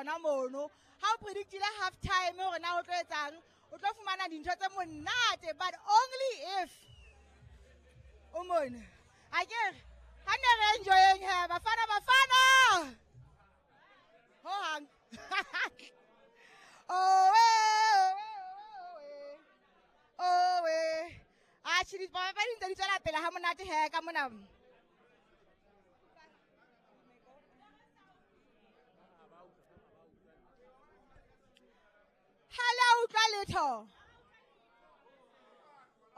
tsona mono. Ha o predictile half time hore na ho tlo etsang, o tlo fumana dintho tse monate, but only if o mona. Akere ha ne re enjoyeng he, Bafana Bafana. Ho hang. Oh, eh, oh, eh. Atjhe, dipapadi ntse di tswela pele ha monate he ka mona. Ha le a utlwa letho.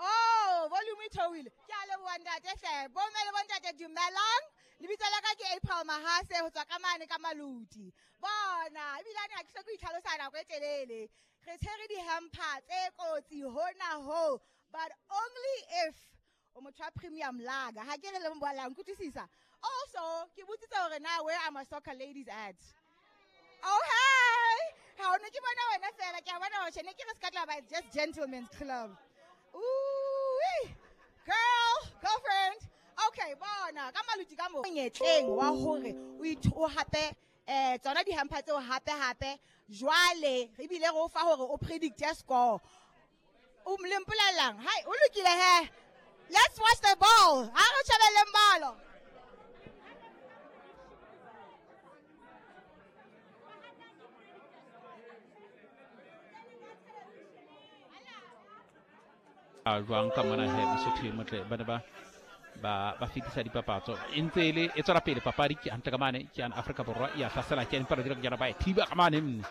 Oh, volume e theohile. Ke a leboha ntate hle. Bomme le bontate dumelang. Lebitso la ka ke April Mahase ho tswa ka mane ka Maluti. Bona, ebilane ha ke hloke ho itlhalosa nako e telele. Re tshwere di-hamper tse kotsi hona ho, but only if o motho wa premium lager. Ha ke re le mbola nkutlwisisa. Also, ke botsitse hore na where are my soccer ladies at? Oh, hey! Ha o ne ke bona wena fela, ke a bona hore tjhe, ne ke re se ka tla ba just gentlemen's club. Ooh, girl, girlfriend. Okay, bona, ka Maluti ka mo. Monyetleng wa hore o hape tsona di-hamper tseo hape hape. Jwale re bile re o fa hore o predict score. O le mpolellang? Hai, o lokile he. Let's watch the ball. Ha re shebelleng bolo. A jwang ka mona he, Mosotho e motle, ba ne ba fetisa dipapatso. E ntse e le, e tswela pele papadi ke hantle ka mane, ke yana Afrika Borwa ya hlasela, ke empa re dira ke ba e thiba ka mane, mme.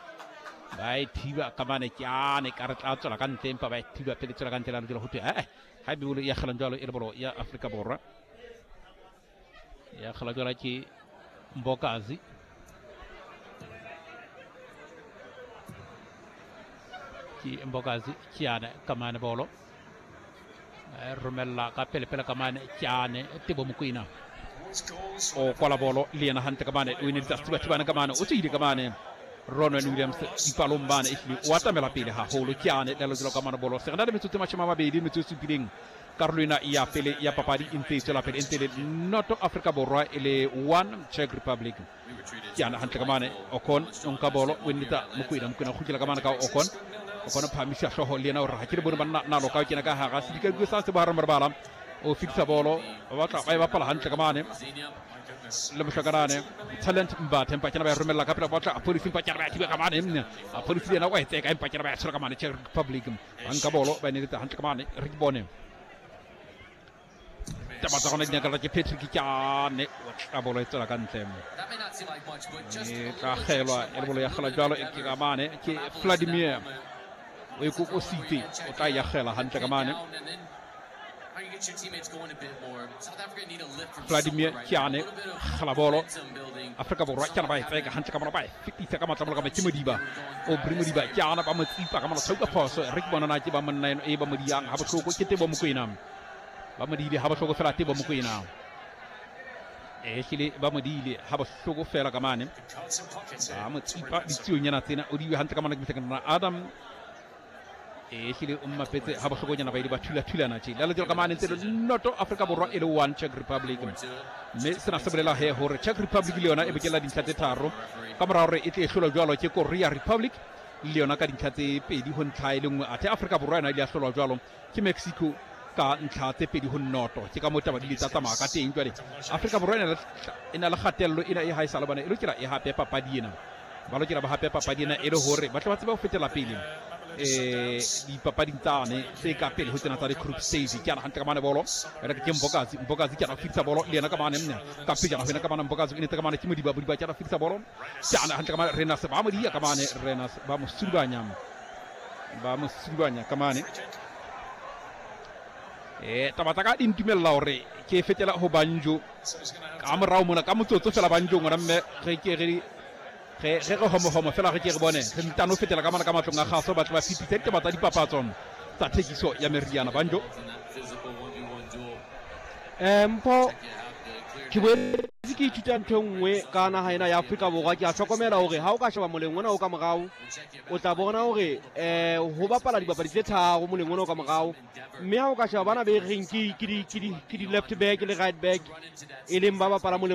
Ba e thiba ka mane, ke ane ka re tla tswela ka ntle, empa ba e thiba pele tswela ka ntle, la dula ho thwe, ha e bolo ya kgelang jwalo e le bolo ya Afrika Borwa. Ya kgelang jwalo ke Mbokazi. Ke Mbokazi, ke ane ka mane bolo. Romella ka pele pele ka mane, ke ane Tebo Mokoena. O kwala bolo le yena hantle ka mane, o ne ditsa thiba thibana ka mane, o tswile ka mane. Ronwen Williams dipalong mane, ehlile o atamela pele haholo, ke ane le lejelo ka mane bolo. Se re na le metsotso e mashome a mabedi, metsotso e supileng. Karolo ena ya pele ya papadi e ntse e tswela pele, e ntse e le noto Afrika Borwa e le 1 Czech Republic. Ke ane hantle ka mane, Okon o nka bolo, o nnetsa Mokoena, Mokoena o kgutlela ka mane ka Okon. Okon o phahamisa hlooho le yena o re ha ke le bone banna nalo ka o kena ka hara sedikadiko sa se bohareng ba lebala. O fetisa bolo, ba batla ba e bapala hantle ka mane. Le mohlakanane Talent Mbatha, empa kena ba e romella ka pele, ba batla Appollis, empa kena ba e thiba ka mane. Appollis le yena o e tseka, empa kena ba e tshwara ka mane Czech Republic. Ba nka bolo, ba e neletsa hantle ka mane, re ke bone. Taba tsa gona di nyakalla ke Patrick Kyane, o tla bolo e tswela ka ntle. E tla kgelwa, e le bolo ya kgelwa jwalo, e ke ka mane, ke Vladimir. O e kokositse, o tla e akgela hantle ka mane. Vladimir Kyane, kgela bolo. Afrika Borwa ke ba e tseka hantle ka mona, ba e fetisa ka matla ka ke Modiba. O Bri Modiba Kyane ba mo tsipa ka mona, tshauka phoso. Re ke bona na ke ba monna eno e ba mo diang ha bohloko, ke Tebo Mokoena. Ba mo diile ha bohloko fela Tebo Mokoena. E hlile ba mo diile ha bohloko fela ka mane. Ba mo tsipa ditsionyana tsena, o diwe hantle ka mona ke mohlakana Adam. E hlile o mmapetse ha bohlokonyana, ba ile ba thula-thulana tje. Le lejelo ka mane ntse le noto Afrika Borwa e le 1 Czech Republic. Mme sena se bolela he hore Czech Republic le yona e bokella dintlha tse tharo ka mora hore e tle e hlolwa jwalo ke Korea Republic le yona ka dintlha tse pedi ho ntlha e le nngwe. Athe Afrika Borwa yona e ile ya hlolwa jwalo ke Mexico ka ntlha tse pedi ho noto. Ke ka moo taba di ile tsa tsamaya ka teng. Jwale Afrika Borwa e na le kgatello ena e haesale bana e lokela e hape papadi ena. Ba lokela ba hape papadi ena e le hore ba tle ba tsebe ho fetela pele dipapading tsane tse ka pele ho tsena tsa di-group stage. Ke ana hantle ka mane bolo ena ke Mbokazi, Mbokazi ke ana fetisa bolo le yena ka mane, mme ka pejana ho yena ka mane Mbokazi o netse ka mane ke Modiba, Modiba ke ana fetisa bolo ke ana hantle ka mane Renas ba mo diya ka mane, Renas ba mo sudubanya, ba mo sudubanya ka mane. Taba tsa ka di ntumella hore ke fetela ho Banjo ka morao mona ka motsotso fela. Banjo ngwana mme re ke re re re re homo homo fela re ke re bone re ntano fetela ka mona ka matlong a kgaso, ba tle ba fetise ditaba tsa dipapatso tsa thekiso ya meriana. Banjo. Mpho, ke boetse ke ithuta ntho e nngwe ka naha ena ya Afrika Borwa. Ke a hlokomela hore ha o ka sheba moleng ona o ka morao, o tla bona hore ho bapala dibapadi tse tharo moleng ona o ka morao. Mme ha o ka sheba bana be reng ke di left back le right back, e leng ba bapala moleng